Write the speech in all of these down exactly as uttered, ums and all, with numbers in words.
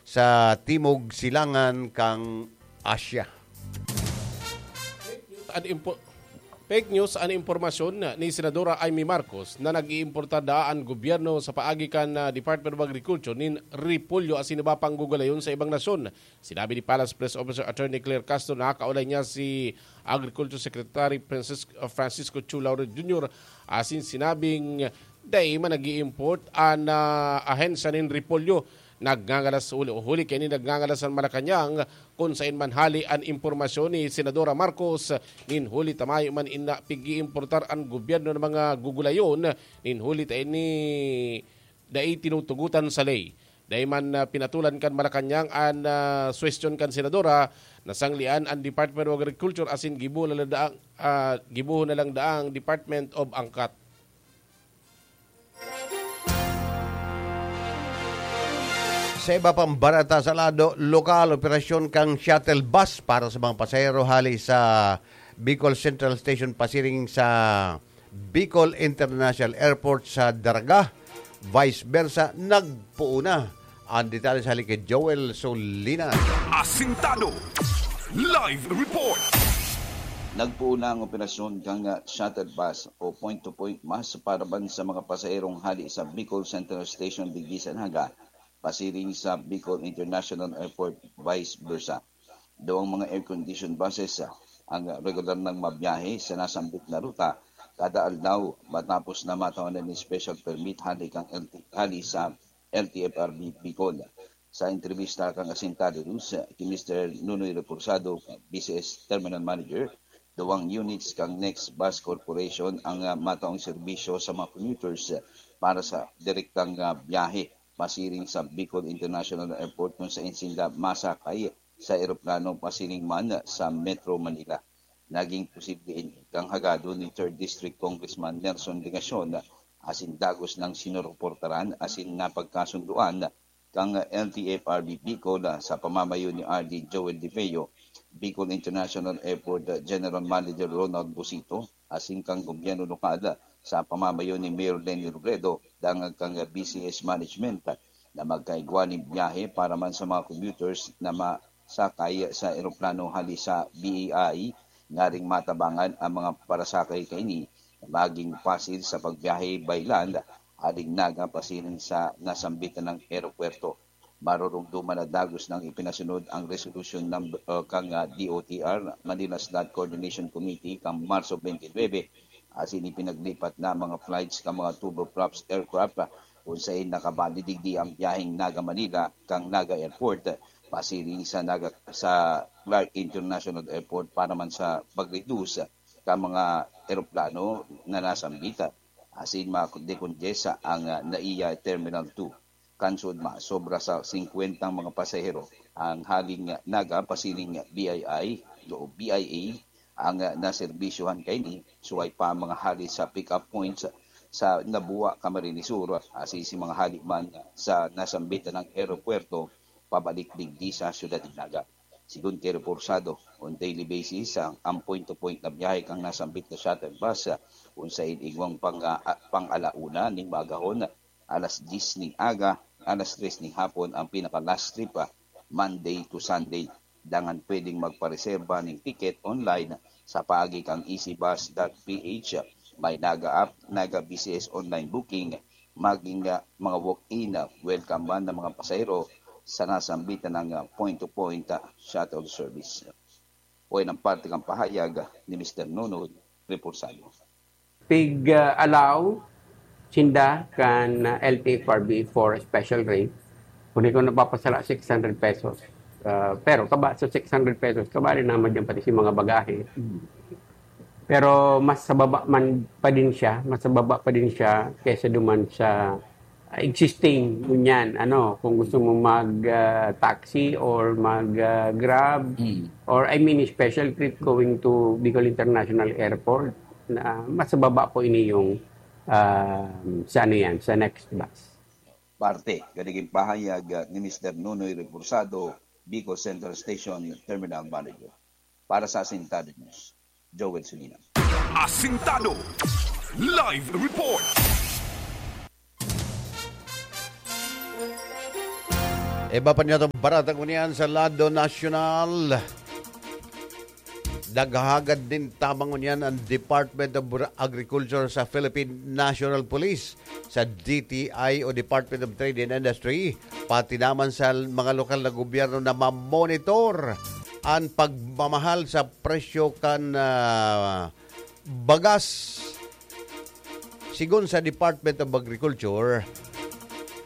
sa Timog Silangan kan Asya. An impo- Fake news an impormasyon ni Senadora Imee Marcos na nag-iimportar daa an gobyerno sa paagi kan ah, Department of Agriculture nin repolyo asin iba pang gugulayon sa ibang nasyon. Sinabi ni Palace Press Officer Attorney Claire Castro na nakaulay niya si Agriculture Secretary Francisco, Francisco Chu Laurel Junior asin sinabing dai man nag-i-import an ah, ahensya nin repolyo. Nagngangalas huli, huli kaini nagngangalas an Malacañang kun saen man hali an impormasyon ni Senadora Marcos nin huli ta mayo man ina pig-iimportar an gobyerno ng mga gugulayon nin huli ta ini dai tinutugutan sa ley. Dai man ah, pinatulan kan Malacañang an ah, suwestyon kan Senadora, nasanglian an Department of Agriculture asin gibo na lang daang, ah, gibo na lang daang Department of Angkat. Sa iba pang bareta sa lado lokal, operasyon kang shuttle bus para sa mga pasahero hali sa Bicol Central Station pasiring sa Bicol International Airport sa Daraga, vice versa, nagpuuna. Ang detalye sa hali kay Joel Solinas. Asintado. Live report. Nagpuuna ang operasyon kang shuttle bus o point-to-point bus para ban sa mga pasahero hali sa Bicol Central Station digdi sa Naga, pasiring sa Bicol International Airport, vice versa. Daw ang mga air-conditioned buses ang regular nang mabiyahe sa nasambit na ruta kada aldaw matapos na matawanan ni special permit hali kang L T, hali sa L T F R B Bicol. Sa entrevista kang Asintado News, ki Mister Nunoy Reporsado, B C S Terminal Manager, duwang units kang Next Bus Corporation ang ah, mataong serbisyo sa mga commuters para sa direktang ah, biyahe pasiring sa Bicol International Airport kung saen sinda masakay sa eroplano pasiring man sa Metro Manila. Naging posible ini kang hagadon ni Third District Congressman Nelson Legacion asin dagos nang sinuruportaran asin napagkasundoan kang L T F R B Bicol sa pamamayo ni R D Joel De Feo, Bicol International Airport General Manager Ronald Busito, asin kan gobyerno lokal sa pamamayo ni Mayor Leni Robredo dangan kan B C S Management na magkaigwa nin biyahe para man sa mga commuters na masakay sa eroplano hali sa B A I, ngaring matabangan ang mga parasakay kaini na maging pasil sa pagbiyahe by land aling Naga pasiring sa nasambitan ng eropuwerto. Marurumduman na dagos nang ipinasunod ang resolusyon ng uh, kang uh, D O T R, Manila Slot Coordination Committee, kang Marso twenty-nine, asin ipinaglipat na mga flights kan mga turboprops aircraft uh, kung sain nakabalid digdi ang biyaheng Naga-Manila kang Naga Airport pasiring sa Naga, sa Clark International Airport para man sa pag-reduce kan mga eroplano na nasambit asin ma-decongest ang uh, NAIA Terminal two. Kansod masobra sa singkwentang mga pasahero ang haling Naga pasiring B I I o B I A ang naserbisyohan kaini, suway pa ang mga hali sa pick-up points sa Nabua, Camarines Sur, asin si mga hali man sa nasambitan ng eropuwerto pabalik digdi sa siyudad ng Naga. Sigon kay Reporsado, on daily basis ang, ang point-to-point na biyahe kang nasambit na shuttle bus, kung sa igwang pang, ah, pang-alauna ning maagahon, alas diyes ning aga, alas tres ning hapon ang pinaka-last trip, ah, Monday to Sunday. Dangan pwedeng magpareserba ning ticket online sa paagi kang easybus dot P H. May Naga app, Naga B C S online booking, maging, ah, mga walk-in, ah, welcome man ng mga pasahero sa nasambitan ng, ah, point-to-point, ah, shuttle service. O yan ang parte kang pahayag, ah, ni Mister Nonoy Reporsado. Pig-allow sinda kan, ah, L T F R B for special rate. Kung di ko napapasala, six hundred pesos. Ah, pero kaba sa six hundred pesos, kabali naman dyan pati si mga bagahe. Pero mas sa baba man pa din siya, mas sa baba pa din siya kaysa duman sa ah, existing, ngunyan, ano, kung gusto mo mag ah, taxi or mag ah, Grab, or I mean special trip going to Bicol International Airport, na mas sa baba po ini yung ah, sa ano yan, sa next bus. Parte, ganiging pahayag, ah, ni Mister Nonoy Reporsado, Bicol Central Station Terminal Manager. Para sa Asintado News, Joel Sulina. Asintado Live Report. Iba pa niya itong barata ngunyan sa lado nasyonal. Naghahagad din tabang ngunyan ang Department of Agriculture sa Philippine National Police, sa D T I o Department of Trade and Industry, pati naman sa mga lokal na gobyerno na mamonitor ang pagmamahal sa presyo kan, ah, bagas. Sigon sa Department of Agriculture,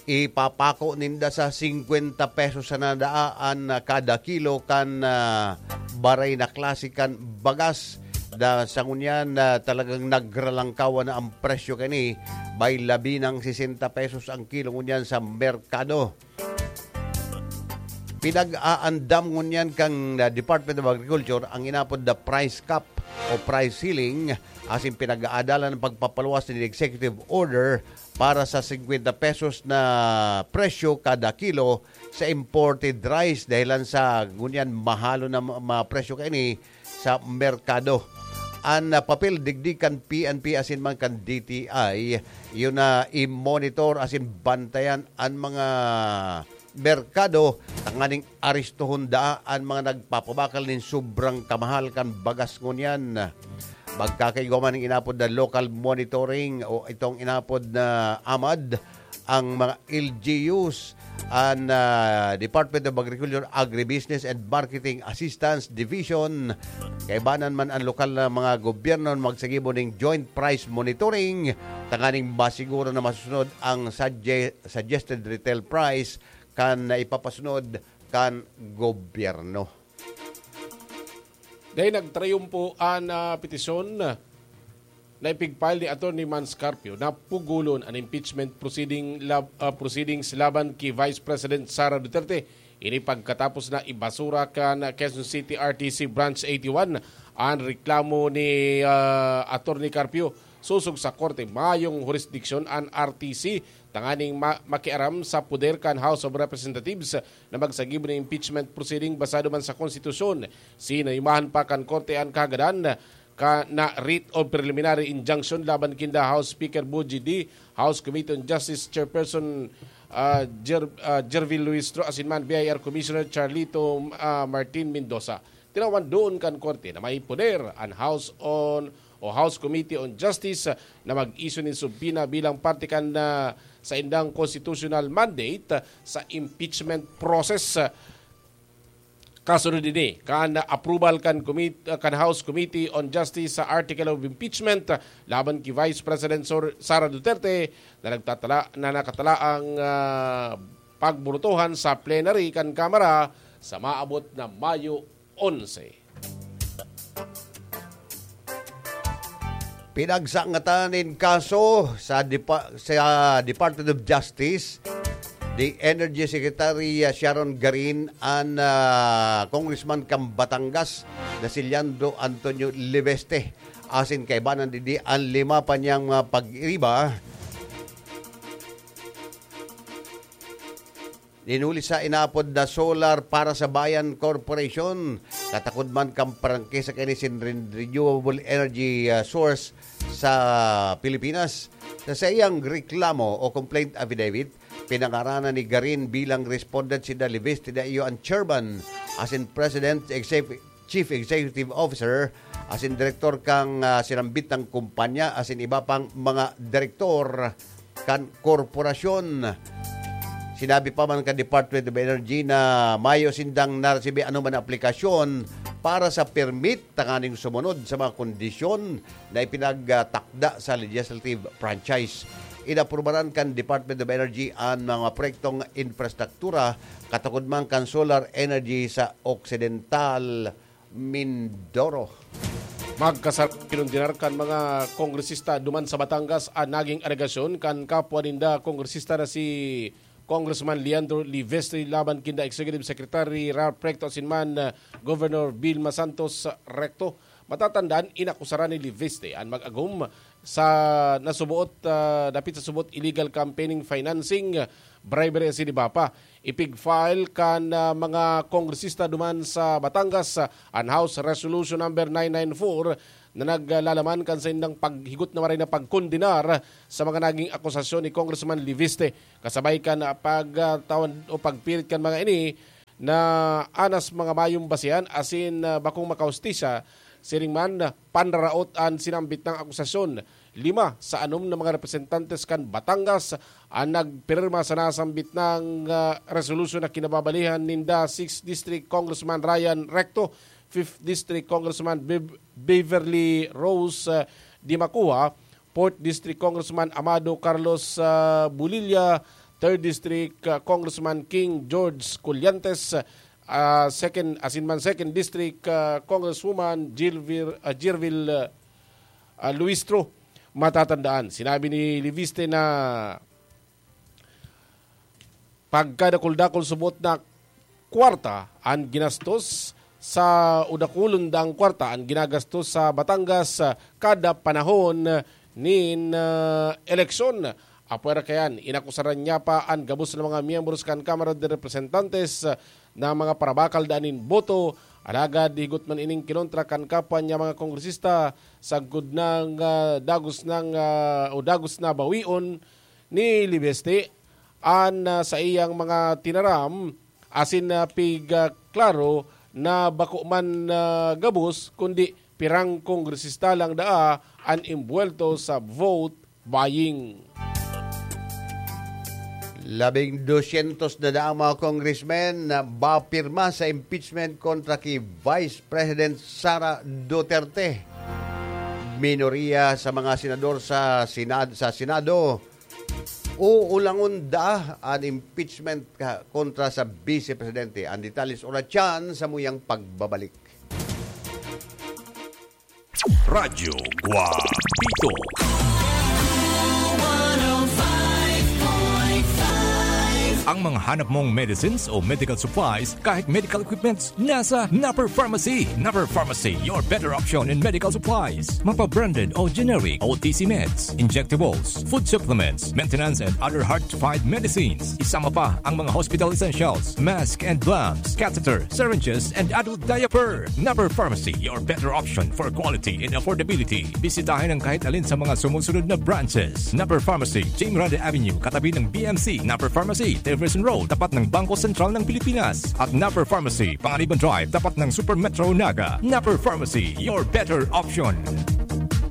ipapako ninda sa singkwenta pesos sana daa an kada kilo kan, ah, baray na klase kan bagas. Da, sa ngunyan na talagang nagralangkawan na ang presyo kani, may labi ng sesenta pesos ang kilo ngunyan sa merkado. Pinag-aandam ngunyan kan, ah, Department of Agriculture ang inapod na price cap o price ceiling, asin pinag-aadalan ang pagpapaluwas nin executive order para sa singkwenta pesos na presyo kada kilo sa imported rice, dahilan sa ngunyan mahalon na ma-, mga presyo kaini sa merkado. An, ah, papel digdi kan P N P asin man kan D T I, iyo na i-monitor asin bantayan an mga merkado tanganing aristohon daa an mga nagpapabakal nin sobrang kamahal kan bagas ngunyan. Magkakaigwa man nin inapod na local monitoring o itong inapod na amad, ang mga L G Us, an, ah, Department of Agriculture, Agribusiness and Marketing Assistance Division. Kaibanan man ang lokal na mga gobyerno magsagibo ning joint price monitoring tanganing masiguro na masusunod ang sugge-, suggested retail price kan na ipapasunod kan gobyerno. Dahil nagtrayumpo an, ah, petisyon na ipigfile ni Attorney Mans Carpio na pugulon an impeachment proceeding lab-, ah, proceedings laban ki Vice President Sara Duterte. Ini pagkatapos na ibasura kan Quezon City R T C Branch eighty-one an reklamo ni, ah, Attorney Carpio sosog sa korte mayong hurisdiksyon an R T C tanganing ma-, makiaram sa poder kan House of Representatives na magsagibo nin impeachment proceeding basado man sa konstitusyon. Sinaimahan pa kan korte an kahagadan ka na writ of preliminary injunction laban kinda House Speaker Bogie Dy, House Committee on Justice Chairperson, ah, Jer-, ah, Jervil Luistro asin man B I R Commissioner Charlito, ah, Martin Mendoza. Tinawan doon kan korte na may poder an House on o House Committee on Justice na mag-issue nin subpoena bilang parte kan, ah, saindang constitutional mandate sa impeachment process. Kasunod ini, kan approval kan commit-, kan House Committee on Justice sa Article of Impeachment laban ki Vice President Sor-, Sara Duterte na nagtatala-, na nakatala ang, ah, pagburutohan sa plenary kan Kamara sa maabot na Mayo onse. Pinagsangatan nin kaso sa Depa-, sa Department of Justice, the Energy Secretary, ah, Sharon Garin, an, ah, Congressman kan Batangas na si Leandro Antonio Leviste. Asin kaibanan digdi an lima pa niyang mga pag-iriba. Ninuli sa inapod na Solar para sa Bayan Corporation, katakod man kan prangkisa kaini sin ren-, renewable energy, ah, source sa Pilipinas. Sa saiyang reklamo o complaint affidavit, pinangaranan ni Garin bilang respondent si Dalibis Tidaio, ang chairman, asin president, exec-, chief executive officer, asin direktor kan, ah, sinambit na kumpanya, asin iba pang mga direktor kan korporasyon. Sinabi pa man kan Department of Energy na mayo sindang naresibi anoman na aplikasyon para sa permit tanganing sumunod sa mga kondisyon na ipinagtakda sa legislative franchise. Inaprubaran kan Department of Energy an mga proyektong infrastruktura katakod man kan solar energy sa Occidental Mindoro. Magkasar-, kinondenar kan mga kongresista duman sa Batangas an naging alegasyon kan kapwa ninda kongresista na si Congressman Leandro Livestre laban kinda Executive Secretary Ralph Recto asin man, uh, Governor Vilma Santos Recto. Matatandaan, inakusaran ni Livestre an mag-agom sa nasuboot, ah, dapit sa subot illegal campaigning financing, bribery asin iba pa. Ipig-file kan, ah, mga kongresista duman sa Batangas, ah, an House Resolution Number nine nine four na naglalaman kan saindang paghigot na maray na pagkondenar sa mga naging akusasyon ni Congressman Leviste. Kasabay kan, ah, pagtawan o pagpirit kan mga ini na anas mga mayong basehan asin, ah, bakong makahustisya, siring man, panraraot an sinambit na akusasyon. Lima sa anom na mga representantes kan Batangas an nagpirma sa nasambit na, ah, resolusyon na kinababalihan ninda Sixth District Congressman Ryan Recto, Fifth District Congressman Bev-, Beverly Rose, ah, Dimacuha, Fourth District Congressman Amado Carlos, ah, Bulilla, Third District, ah, Congressman King George Colliantes, ah, second, asin man Second District, ah, Congresswoman Gilvir-, ah, Gervil, ah, ah, Luistro. Matatandaan, sinabi ni Leviste na pagkadakul-dakul subot na kwarta an ginastos sa, o dakulon daang kwarta an ginagastos sa Batangas, ah, kada panahon nin, ah, eleksyon. Apwera kayan, inakusaran niya pa an gabos na mga miyembros kan Kamara de Representantes, ah, na mga parabakal daan nin boto. Alagad higot man ining kinontra kan kapwa niya mga kongresista, sagkod nang, ah, dagos nang, ah, o dagos na bawion ni Leviste an, ah, saiyang mga tinaram asin, ah, pig, ah, klaro na bako man, ah, gabos kundi pirang kongresista lang daa an imbuwelto sa vote buying. Labing dosyentos na daang mga congressmen na bapirma sa impeachment kontra ki Vice President Sara Duterte. Minoriya sa mga senador sa Senad-, sa Senado, uulangon da an impeachment ka-, kontra sa Vice Presidente. Ang detalles oratyan sa muyang pagbabalik. Radyo Guapito. Ang mga hanap mong medicines o medical supplies, kahit medical equipments, nasa Napper Pharmacy. Napper Pharmacy, your better option in medical supplies. Mapa-branded o generic, O T C meds, injectables, food supplements, maintenance and other hard-to-find medicines. Isama pa ang mga hospital essentials, mask and gloves, catheter, syringes, and adult diaper. Napper Pharmacy, your better option for quality and affordability. Bisitahin ang kahit alin sa mga sumusunod na branches. Napper Pharmacy, Jim Rada Avenue, katabi ng B M C. Napper Pharmacy, Tiverson Road, tapat ng Bangko Sentral ng Pilipinas. At Napper Pharmacy, Panganiban Drive, tapat ng Super Metro Naga. Napper Pharmacy, your better option.